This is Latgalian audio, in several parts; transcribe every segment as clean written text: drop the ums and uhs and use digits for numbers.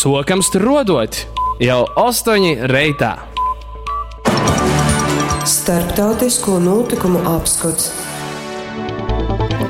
Sokam struodot jau 8 reitā. Starptautisko nūtykumu apskots.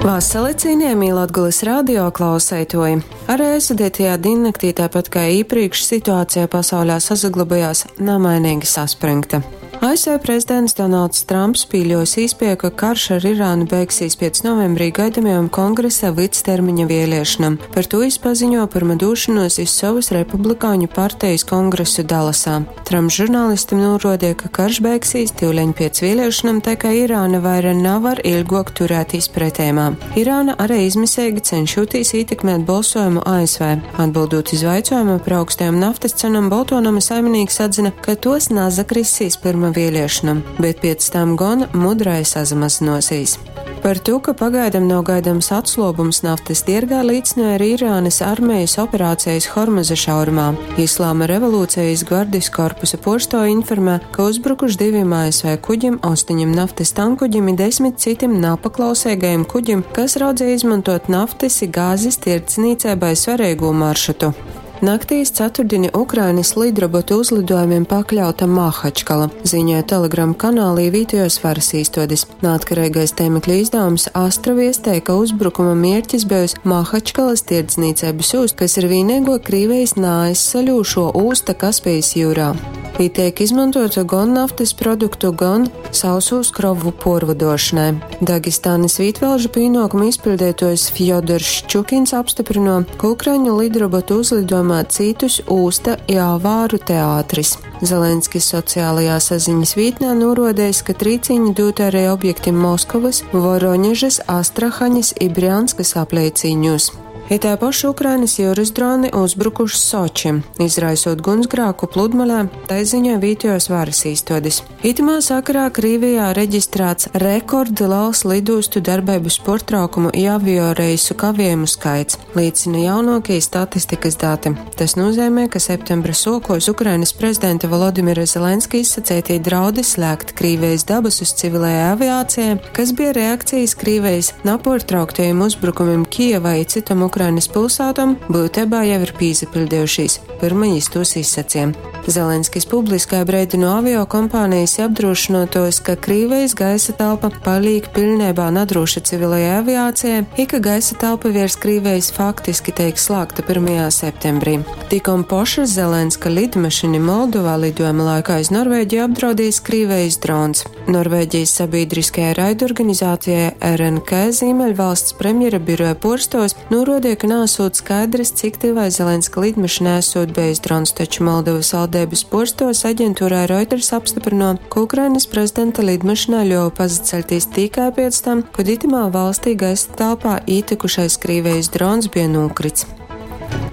Vasali, cienījamī Latgulas radio klauseitoji! Arī aizvadītajā diennaktī, tāpat kā iepriekš, situācija pasaulē sasaglabājās namainīgi saspringta. ASV prezidents Donalds Trumps pīļos īspēju, ka karš ar Irānu beigsies pēc novembrī gaidamajam kongresa vidstermiņa vēlēšanām. Par to viņš paziņo pirma došanos iz savas republikāņu partijas kongresu Dallasā. Trumps žurnālistim norādīja, ka karš beigsies tīvleņ pēc vēlēšanām, tā kā Irāna vaira nevar ilgok turētīs pretējumā. Irāna arī izmisīgi cenšoties ietekmēt balsojumu ASV. Atbildot iz jautājumu par augstajām naftas cenām, Boltonama saimnieks atzina, ka tos nazakrisīs pirma vēlēšanām, bet pēc tam gan mudrai sazamazinosīs. Par to, ka pagaidām nav gaidāms atslobums naftas tirgā, līdzināja arī Irānas armijas operācijas Hormuza šaurumā. Islāma revolūcijas gvardijas korpusa porsto informē, ka uzbrukuši diviem ASV kuģim, 8 naftas tankuģim un 10 citiem napaklausīgajiem kuģim, kas raudzēja izmantot naftas i gāzes tirdzniecībai svarīgo maršrutu. Naktīs ceturtdieni Ukrainas lidrobotu uzlidojumiem pakļauta Mahačkala, ziņoja Telegram kanālī vietējos varas īstodes. Neatkarīgais tēmekļa izdevums Astra viestēja, ka uzbrukuma mērķis bijusi Mahačkalas tirdzniecības ūsta, kas ir vienīgo Krīvijas nāaizsaļūšo ūsta Kaspijas jūrā. Tī tiek izmantota gan naftas produktu, gan sausūs krovu porvadošanai. Dagestānas vītvalžu pienākumu izpildītājs Fjodors Ščukins apstiprino, ka Ukraiņu lidrobotu uzlidojumā citus ūsta i avāru teātris. Zelenskis sociālajā saziņas vītnē norodējis, ka trīciņi dot arī objektim Moskovas, Voroņežas, Astrahaņas i Brjanskas apleicīņos. I tā paša Ukrainas jūras droni uzbrukuši Sočim, izraisot gunsgrāku pludmalē, tai ziņoja vietējos varas īstodes. Itamā sakarā Krīvijā reģistrēts rekordliels lidostu darbības portraukumu i avioreisu kavējumu skaits, liecina jaunākie statistikas dati. Tas nozīmē, ka septembra sokos Ukrainas prezidenta Volodimira Zelenska izsacētie draudi slēgt Krīvijas dabasus civilajai aviācijai, kas bija reakcijas Krīvijas naportrauktajiem uzbrukumiem Kijevai i citom Ukrainas pilsētām, būtībā jau ir pīzapildījušīs, pirma jis tos izsacīja. Zelenskis publiskai breidino avio kompānijas apdrošinotos, ka Krīvijas gaisa telpa paliek pilnībā nadroša civilajai aviācijai, i ka gaisa telpa virs Krīvijas faktiski tiek slēgta 1. septembrī. Tikom poša Zelenska lidmašīna Moldovā lidojuma laikā iz Norvēģiju apdraudījis Krīvijas drons. Norvēģijas sabiedriskajai raidorganizācijai RNK Zīmeļvalsts premjera biroja porstos norodīja, ka nesot skaidrs, cik tivai Zelenska lidmašīnai esot bijis drons, taču Moldovas valdības porstos aģentūrai Reuters apstiprino, ka Ukrainas prezidenta lidmašīnā ļuva pazaceļtīs tikai pēc tam, kad itamā valstī gaisa telpā ītikušais Krīvijas drons bija nokrits.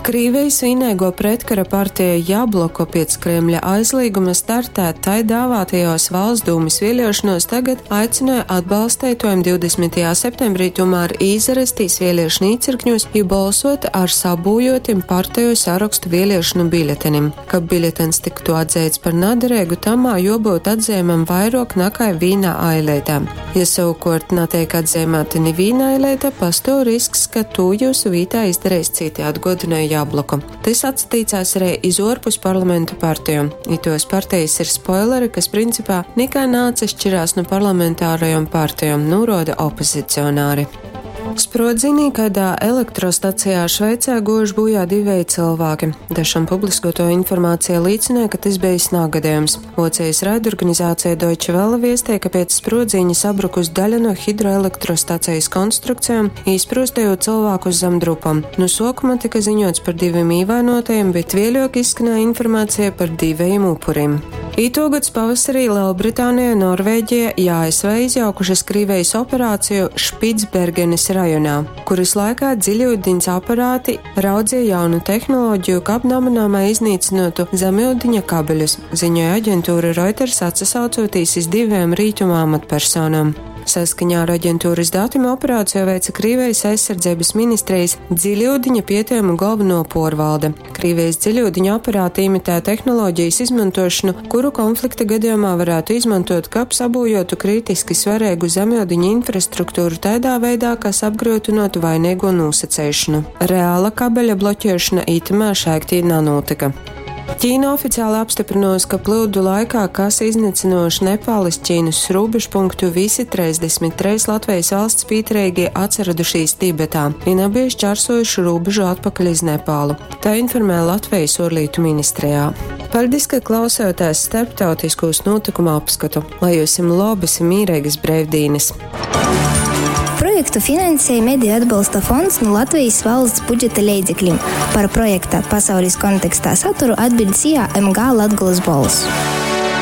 Krīvijas vienīgo pretkara partija Jabloko pēc Kremļa aizlieguma startēt tai dāvātajos valsts dūmas vēlēšanos tagad aicināja atbalstētojiem 20. septembrī tomēr izarastīs vēlēšanu īcirkņos, ja balsot ar sabūjotim partiju sarakstu vēlēšanu biļetenim. Kab biļetens tiktu atzīts par naderīgu, tamā jobūt atzīmam vairāk nekā vīnā ailētā. Ja savukārt netiek atzīmēta ni vīna ailēta, pastāv risks, ka to jūsu vītā izdarīs citi, atgodināja Jabloku. Tas atsatīcās arī iz orpus parlamentu partiju. I tos partijas ir spoileri, kas principā nekā nācašķirās no parlamentārajām partijām, noroda opozicionāri. Sprodzienī kādā elektrostacijā Šveicē gojuši bojā divēji cilvēki. Dažam publiskoto informācija liecināja, ka tas bijis nāgadījums. Vocijas raidorganizācija Deutsche Welle viestēja, ka pēc sprodziņa sabrukus daļa no hidroelektrostacijas konstrukcijām, izprostējot cilvēkus zem drupam. No sākuma tika ziņots par diviem īvainotajiem, bet vēļok izskanēja informācija par diviem upuriem. Ītogads pavasarī Lielbritānija, Norvēģija i ASV izjaukušas Krīvijas operāciju Špicbergenes rajonā, kuras laikā dziļūdeņas aparāti raudzīja jaunu tehnoloģiju, kab namanāmai iznīcinotu zemūdeņa kabeļus, ziņoja aģentūra Reuters atsasaucoties iz diviem rītuma amatpersonām. Saskaņā ar aģentūras datim operāciju veica Krīvijas aizsardzības ministrijas dziļūdiņa pietejumu galveno porvalde. Krīvijas dziļūdiņa aparāti imitē tehnoloģijas izmantošanu, kuru konflikta gadījumā varētu izmantot, kab sabūjotu kritiski svarīgu zemūdiņa infrastruktūru tādā veidā, kas apgrūtinātu vainīgo nosaceišanu. Reāla kabeļa bloķēšana itamā šaiktī nanotika. Ķīna oficiāli apstiprinājusi, ka plūdu laikā, kas iznīcinoši Nepāles Ķīnas robežpunktu, visi 33 Latvijas valsts pieturīgie atsaradušies Tibetā un abi šķērsojuši robežu atpakaļ iz Nepālu. Tā informē Latvijas ārlietu ministrijā. Paldies, ka klausāties starptautiskos notikumu apskatu. Lai jums labas un mierīgas brīvdienas! Projektu finansēja Mediju atbalsta fonds no Latvijas valsts budžeta leidzekļiem. Par projekta pasaules kontekstā saturu atbild SIA MG Latgulas Bols.